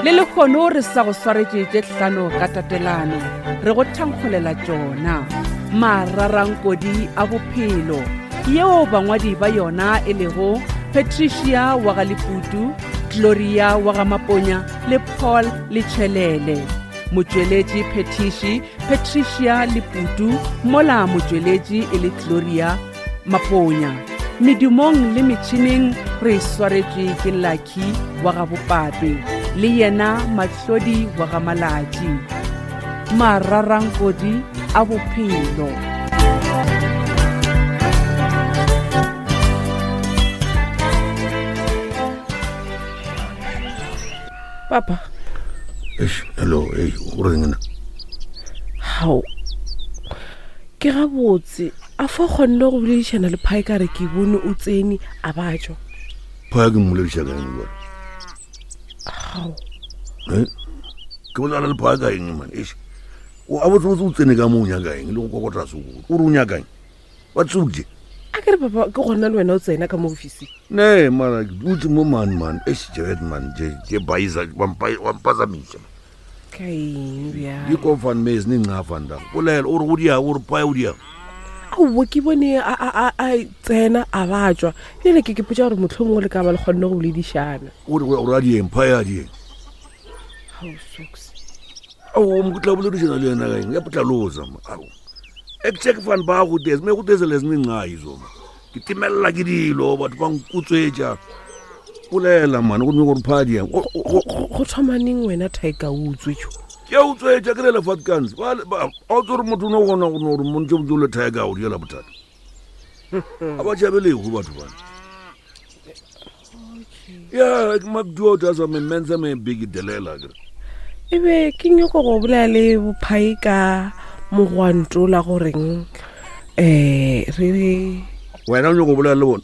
Le lehono re sa go swaretše tše hlano ka tatelano, re go thankgolela tšona. Mararankodi a bophelo, yeo bangwadi ba yona e lego Patricia wa ga Leputu, Gloria wa ga Maponya le Paul Letšhelele. Motšweletši phethiši Patricia Leputu, mola motšweletši e le Gloria Maponya. Medumong le metšhineng re swaretšwe ke Lucky wa ga Bopape le yena Mahlodi wa ga Malatši. Mararankodi a bophelo. Papa. Eish, hello, ei, o reng na? Hao. Ke gabotse, a fa kgonne go boledišana le Phai ka re ke bone o tsene a ba tšwa. Phai ke mmolediša ka eng jwale? Hao. Eh? Ke bolela le Phai ka eng man? Eish. O a botse botse o tsene ka mo o nyaka eng le go kokota sekolo. O re o nyaka eng? Wa tsuje. A ke re papa ke gona le wena o tsena ka mo ofising. Ne, mara ke dutse mo man man. Eish, Jared man, je je baiza wa mpazamisa. Ka eng bjale? Di kofan mes ni nca van da. Bolela o re go dia o re phaya o dia. Aowa ke bone a a a a tsena a ba tšwa. Bjale ke ke potša gore mohlomongwe le ka ba le kgonne go boledišana. O re o ra dieng phaya dieng. Hao socks. Aowa mo tla boledišana le yena ka eng? Ya potlaloza ma. Ao. Ek check van ba go des me go des les ni nca izo ma. Ke timelela ke dilo batho ba nkutswetša. Bolela man go nyoko re phaya dieng. Go thoma neng wena Tiger o utswetšwa? Ke a utswetša ke rele Fatkans. Ba ba a o tsore motho no gona go no re montse botse le Tiger o diela bothata. A ba tšhabe lehu batho bana. Ya ke makduo ta sa me menza me big delela ke. E be ke nyoko go bolela le bophai ka mogwanto la goreng eh re re Wena o nyoko bolela le bona.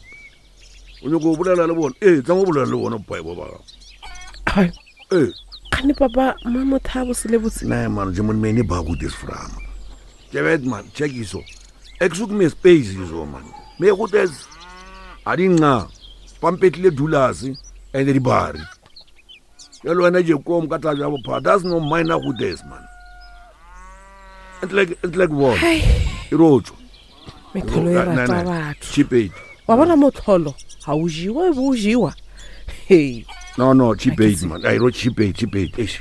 O nyoko bolela le bona. Eh tsa go bolela le bona bophai bo ba gago. Ai, Eh kgane papa ma motho a bose le botse. Nee man, je moet me nie bago dis vra man. Jy weet man, check hierso. Ek soek meer space hierso man. Me goed is a di nca. Pampetlile dulasi and di bari. Jalo wena je kom ka tla ja bopha. That's no minor goed is man. It's like it's like what? Hai. E rotswa. Metholo e rata batho. Cheap aid. Wa bona motlholo ga o jewa e bo o jewa. Hey. No no, cheap aid man. Ai ro cheap aid, cheap aid. Eish.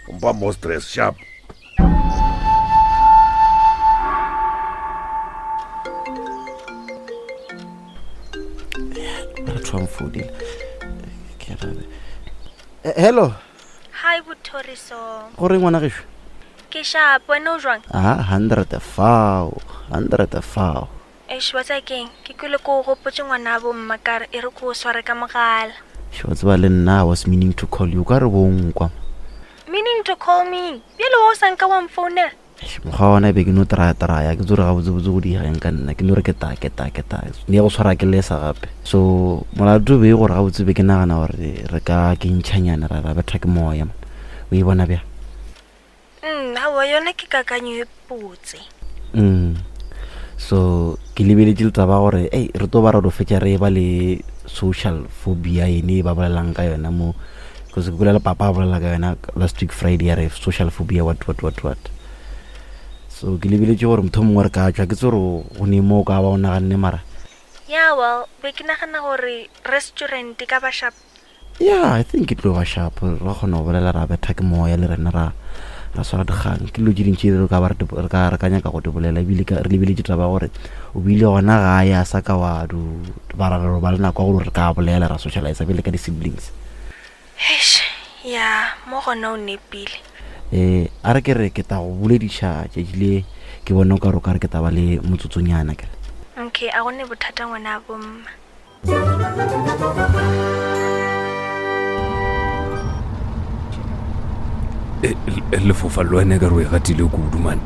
Umpa mo stress sharp. re thwang founile Ke ra- Eh, hello hi bothoriso gore ngwana gešo ke sharp wena o jwang a hundred fao hundred fao eish wa tsaya keng ke kwele ko o gopotse ngwana bo mma kare e re ko o sware ka mogala Eish, wa tseba le nna i was meaning to call you o ka re bo nkwa meaning to call me bjale wa o sa nka wa mfounela Eish, mokgwa wa ona e be ke no traya-traya ke tsore gabotsebotse go diega eng ka nna ke no re ke ta ke ta ke ta ne go tshwara ke lesa gape so molato be gore gabotse be ke nagana gore re ka ke ntšhanyana ra ra betha ke moya man o e bona bjang Aowa yona ke kakanyo e botse. So ke lebeletše le taba gore ei re tlo ba ra do fetša re ba le social phobia ene e ba bolelang ka yona mo because ke bolela papa a bolela ka yona last week Friday ya re social phobia what what what what. So ke lebeletše gore motho mongwe re ka tšwa ke tse gore go ne mo o ka ba o naganne mara. Yeah well be ke nagana gore restaurant e ka ba sharp. Yeah, I think ke tlo ba sharp ra kgona go bolela ra betha ke moya le rena ra ra swara dikgang ke dilo tše dintši re ka ba re ka re ka nyaka go di bolela ebile re lebeletše taba gore o bile gona gae a sa ka wa du ba ra re ba le nako ya gore re ka bolela ra socialize bjale ka di-siblings. Eish, ya mo gona o nepile. Eh, a re ke re ke tla go bolediša tšatši le ke bone o ka re o ka re ke tla ba le motsotsonyana kere. Okay, a go ne bothata ngwana bomma. E, e, lefofa le wena e ka re o e gatile kudu mane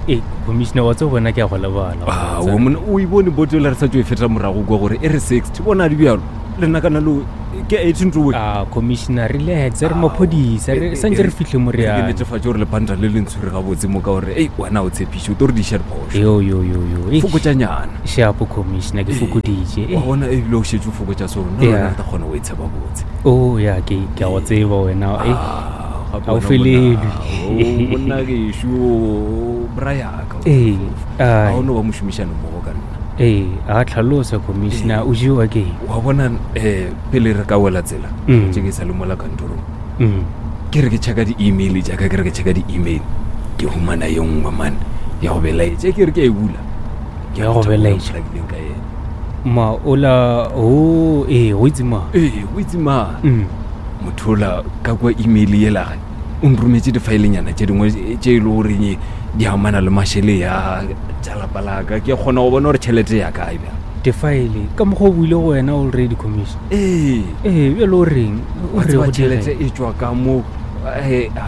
e commissioner wa tse bona ke a go lebala ao mone o e bone boto le re sa tso e feta morago kwa gore e re 60 bona di bjalo le nna kana lo ke 18 towe a commissioner relax re maphodisa re santse re fitlhe mo re ke netefatse gore lepanta le le ntshwere gabotse mo ka gore ei wena o tshepiše o tlo re diša diphošo yo yo yo yo fokotšanyana Shapo commissioner ke fokoditše. Wa bona ebile o šetše o fokotša so nna wena re tla kgona go e tsheba botse. Oh ya ke ke a go tseba wena. Ah. gape Ga o wena felelwe. monna, o monna gešo brayaka Ee, ga ai. o no ba mošomišane mmogo ka nna ee a tlhalosa commissioner o jewa ke eng? wa bona um pele re ka wela tsela Mm. tše ke sa le mola kantorong Mm. ke re ke checka di-email jaaka ke re ke checka di-email ke humana ye nngwe man ya go belaetša ke re ke a e bula Ya go belaetša? Ke ka ena ma ola o ee go itse ma ee o itse ma Mm. motho ola ka kwa email yelage o nrometse difaelenyana tše dingwe tše e le goreng di amana le mašele ya tša lapa laka ke kgona go bona gore tšhelete ya kae bjang difaele ka mokgwa o buile go wena already commission ee ee bjale o reng o wa re tseba go tšhelete direng e tswa ka mo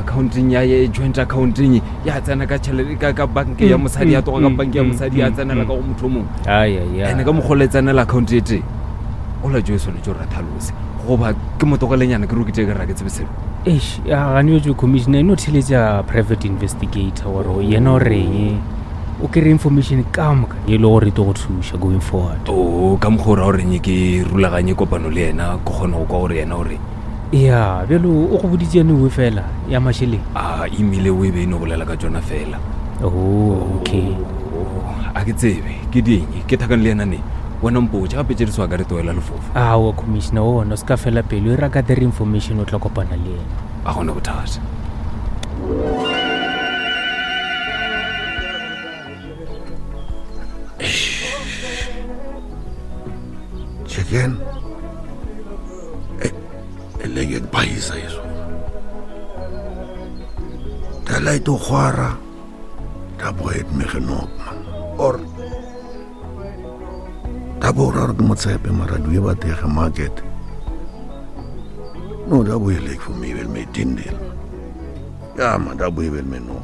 accounting ya ya joint accounting ya tsena ka tšhelete ka ka banke ya mosadi ya toga ka banke ya mosadi ya tsenela ka go motho o mongwe ayaya ande ka mokgwa le tsenela account e tee ola jo e swanetse gore a tlhalose goba ke motogelenyana ke rokete ke ra ke tsebe selo eish gane bjetse commissioner e no theletša private investigator gore yena o reng o kry information ka moka e le gore e tlo go thuša going forward o ka mokgwa o ra goreng ke rulaganye kopano le yena ke kgone go kwa gore yena ore ya bjalo o go boditse yane fela ya mašeleng a email o e be e no bolela ka tsona fela oh okay Oh, a ke tsebe ke ding ke thakane le yena ne wena mpotse gape tse di swa ka re toela lefofa aowa commissioner ona o se ka fela pelo e raka there information o tla kopana le yena a gona bothata Chicken. E leke bayisa iso. Da light o khwara. Da boet me genok man. Or da bo ra ke motshepe mara duye ba tege market. No da bo lek for me wel me tindel. Ja man da bo wel me no.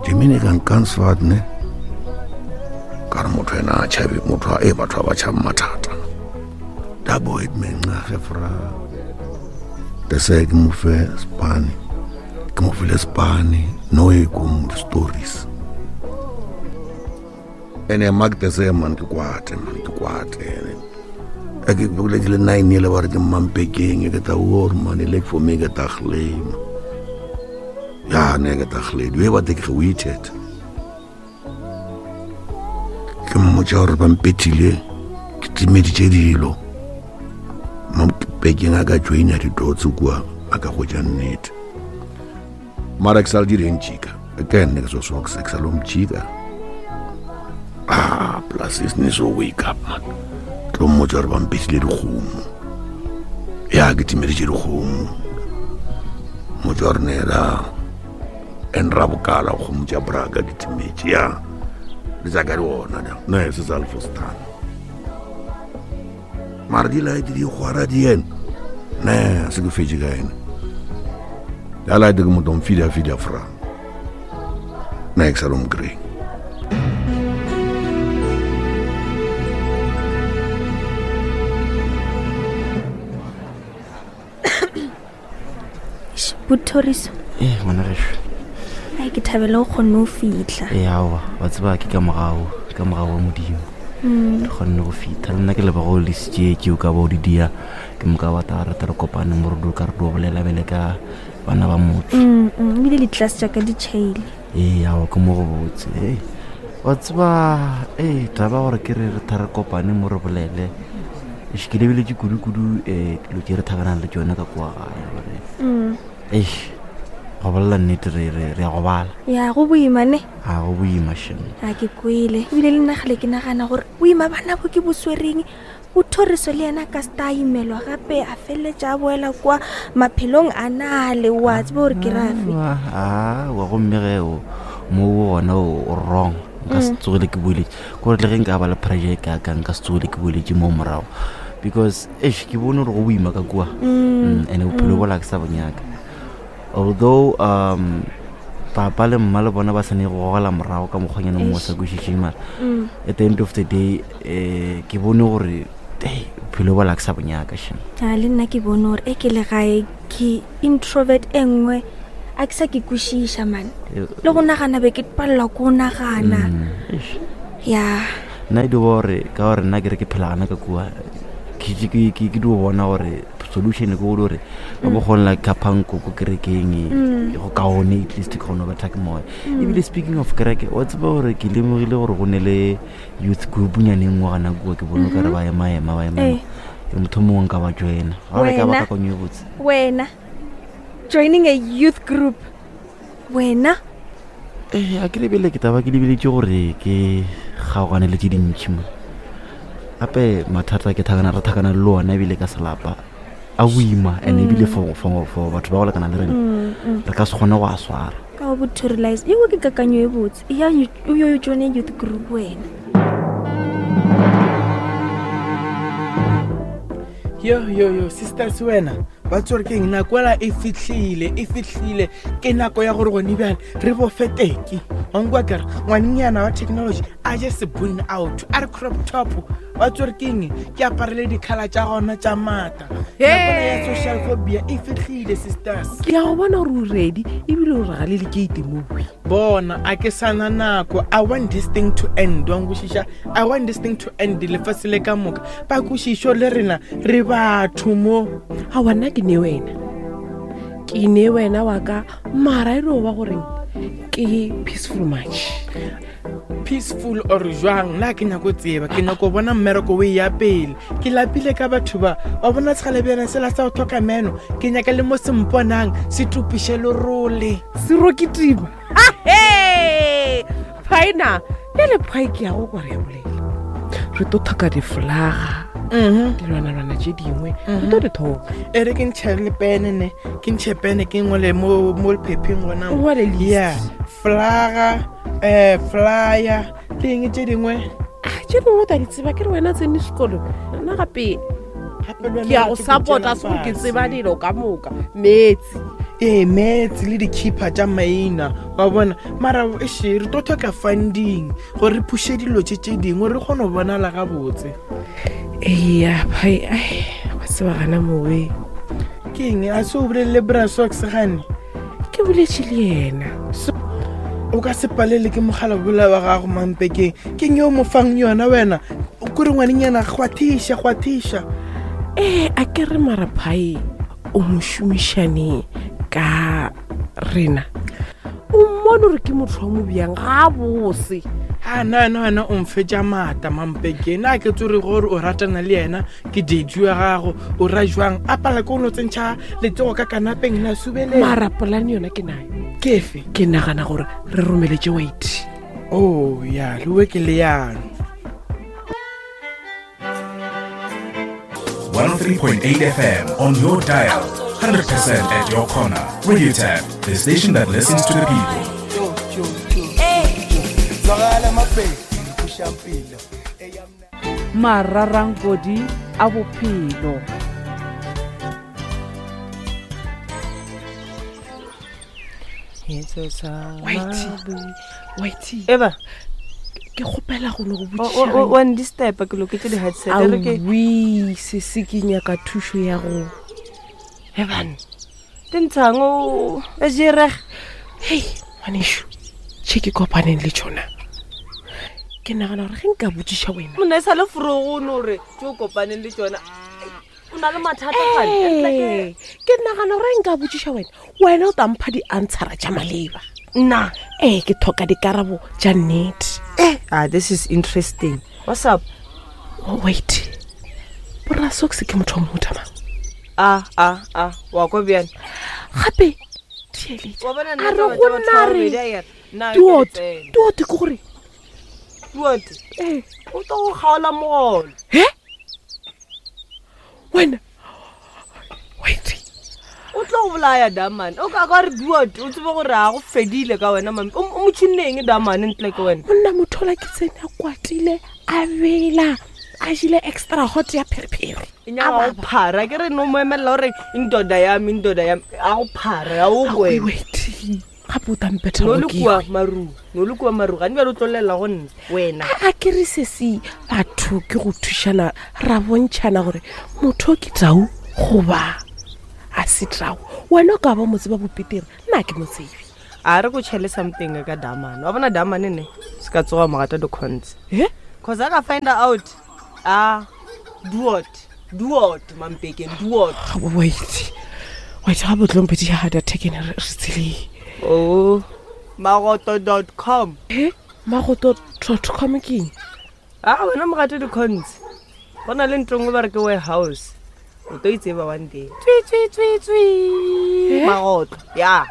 Dimine kan kansvat ne. Ka re motho ena a tšhabe motho a e batho ba ba tšhabe mathata da boet me nxage fra de se ke mo fe spane ke mo file spane no e kom stories ene mark de se man ke kwate man ke kwate ene e ke bole ke le 9 ele ba re ke mampekeng ke ta war man e lek for me ke ta glem ja ne ke ta glem we ba te ke waited ke mmotša gore ba mpethile ke timeditše dilo mampekeng a ka joina didotse kua a ka hwetša nnete mara ke sa le direng tšika ke nne ke so sox ke sa le mtšika ah plus is ne so wake up man tlo mmotša gore ba mpethile dikgomo ya ke timeditše dikgomo mmotša gore ne la en ra bokala kgomo tša braka di timetše ya le tša ka di ona da ne se sa lefostana mara di laete di kgwara di ene ne se ke fetse ka ene ya laete ke motho mfida fida fra ne ke sa lo mokry Eish, bothoriso ee ngwana gešo ai ke thabele o kgonne o fitlha ee aowa wa tseba ke ka morago ka morago wa modimo Mm. re kgonne go fitlha le nna ke leboga o lesitše ke o ka ba o di dia ke moka wa ta rata re kopane mo re do ka re dio bolela bele ka bana ba motho Mm, mm, ebile di-class jaaka di tšhaile ee aowa ke mo go botse ee wa tseba ee taba gore ke re re tha re kopane mo re bolele eish, ke lebeletse kudu-kudu um dilo tse re thakanang le tsone ka kua gae gore Mm. eish go bolela nnete re re- re ya go bala ya go boima ne ga go boima shem a ke kwele ebile le nna gale ke nagana gore boima bana bo ke bo swereng bothoriso le yena ka seta a imelwa gape a feleletša a boela kwa maphelong a nale wa tseba gore ke rafe awa gomme ge o mo gona o wrong nka se tsogile ke boeletse kore le ge nka ba le pressure e kaka nka se tsogile ke boeletse mo morago because eish ke bone gore go boima ka kua and bophelo bola ke sa bonyaka although um papa le mma le bona ba sane go gogela morago ka mokgwanyana mongwe o sa kwešišeng mara at the end of the day um ke bone gore ei bophelo bola ke sa bonyaka shem a le nna ke bone gore e ke le gae ke introvert e nngwe a ke sa ke kwešiša mane le go nagana be ke palelwa ko go nagana Eish. ya nna e di gore ka gore nna ke re ke phela gana ka kua ke ke dio bona gore solution ke go gore ba bo kgonela khapanko ko kerekeng e go kaone at least ke kgone go betha ke moya. Ebile speaking of kereke, wa tseba gore ke lemogile gore go ne le youth group nyaneng ngwe gana kua, ke bone o kare ba ema-ema ba ema. Ee. Ke motho mongwe nka ba joina ga gore ka ba Wena? kakanyo e botse. Wena joining a youth group, wena? Ee, a ke lebele, ke taba ke lebeletse gore ke kgaogane le tse dintšhi mo, gape mathata ke thakana re thakana le ona, ebile ka selapa a boima, and ebile for batho ba go lekana le rena re ka se kgone go a swara. Ka go bothorelize ewe, ke kakanyo e botse ya o yo joine youth group wena. Yo yo yo, sisters, wena ba tsore ke eng? Nako ela e fitlhile, e fitlhile, ke nako ya gore gone bjale re bofeteke wankwa kere ngwanenyana wa technology a je sebone out a re crop top. Wa tsore ke eng? Ke aparele dikgala tša gona tša maata. Nako ela ya social phobia e fitlhile, sisters. Ke ya go bona gore o ready ebile o re ga le lekeite mowe. Bona, a ke sana nako. I want this thing to end, wa nkwešiša? I want this thing to end. Lefase le ka moka ba kwešišo le rena re batho mo. Aowa, nna ke ne wena, ke ne wena wa ka, mara e re o ba goreng ke peaceful march. Peaceful or jwang, nna ke nyako tseba, ke nyako bona mmereko o e ya pele. Ke lapile ka batho ba wa bona segalebyana sela sa go tlhoka meno. Ke nyaka le mo semponang se tupiše lerole. Serokitima ahe phaena bjale phai ke ya go kwa re ya bolela re tlo thoka difolaga, dilwanalwana tše dingwe re tlo di thoka. E re ke ntšhe le pene ne, ke ntšhe pene ke ngwale mo lephepheng gona O mo. ngwale list. Ya flaga, flyer le eng tše dingwe. Ah, tše dingwe o ta di tseba, ke re wena tsene sekolo, nna gape Gape le wena ke ya o go rate support-a tšwela se gore ke fase. tseba dilo ka moka, metsi. Ee, metsi le di-keeper tša maina wa bona. Mara eshe re tlo tlhoka funding gore re phushe dilo tše tše dingwe re kgone go bonala gabotse. Eya phai, ai wa tseba gana mowe. Ke eng a se o bolelele brasox gane? Ke boletše le yena. O ka se palele ke mogala bola wa gago mampekeng. Ke eng yo o mo fang yona wena? O kore ngwanenyana gwa thiša. Ee, a ke re mara phai o mo šomišane ka rena, o mmone gore ke motho wa mo bjang ga a bose. A na wena, wena o mfetša maata mampekeng. Na ke tsore gore o ratana le yena, ke date ya gago, o ra jwang a pala ke o no tsentšha letsogo ka kanapeng la subele. Mara polane yona ke nayo. Kefe? Ke nagana gore re romeletse white. O ya lewe ke leano. 103.8 FM on your dial. 100% at your corner. Radio Tap, the station that listens to the people. Mararankodi a bophelo. Whitey, Whitey, eba ke kgopela go ne go wa ndistepa, ke loketse di-headset e re ke botsiaowi sese, ke nyaka thušo ya go ebane tentshang o jereg. Hei ngwanešu, tšhe ke kopaneng le tšona, ke nagana gore ge nka botsiša wena. Monna e sa le forogono gore tse o kopaneng le tsona o na le mathata gane. Ee, ke nagana gore nka botsiša wena, wena o tampha di-answera tša maleba. Nna? Ee, ke tlhoka dikarabo tša nnete. Eh, ah, this is interesting. What's up? Oh, wait, borasox ke motho wa mohuta mang? A a a, wa kwa bjane. Gape theeletša. Wa bona A nna re taba go tša batho nna ba re babedi, a ere, nna ke duot letseno. Duot ke gore Duot ee o tlo go kgaola mogolo. He wena, wait. O tlo go bolaya damane. O ka ka re duot, o tsebe gore a go fedile ka wena mame. O motšhinneng damane ntle ke wena. Monna motho ola ke tsene a kwatile, a bela a jile extra hot ya pherephere. E nyaka go phara, ke re no mo emelela gore indoda yame, indoda yame, a go phara ya o kwena. Wait, gape o tampetha. No le kua maru, no le kua maru gane bjale o tlo llela go nna wena. A ke re sese, batho ke go thušana, ra bontšhana gore motho o ke tau goba a se tau. Wena o ka ba motse ba bopetere, nna ke motsebe. A re ko tšhele something ka damane. Wa bona damane ne se ka tsoga mogata di-cons e cause a ka find out a duot Duot mampekeng duot. Wait. Wait, ga botlompedi ya data ke ne re tseleng. Oh. Magoto.com. He? Magoto.com ke eng? A wena mogate di-cons. Go na le ntho nngwe ba re ke warehouse. O tlo itseba one day. Tswi tswi tswi tswi. Magotlo. Ya.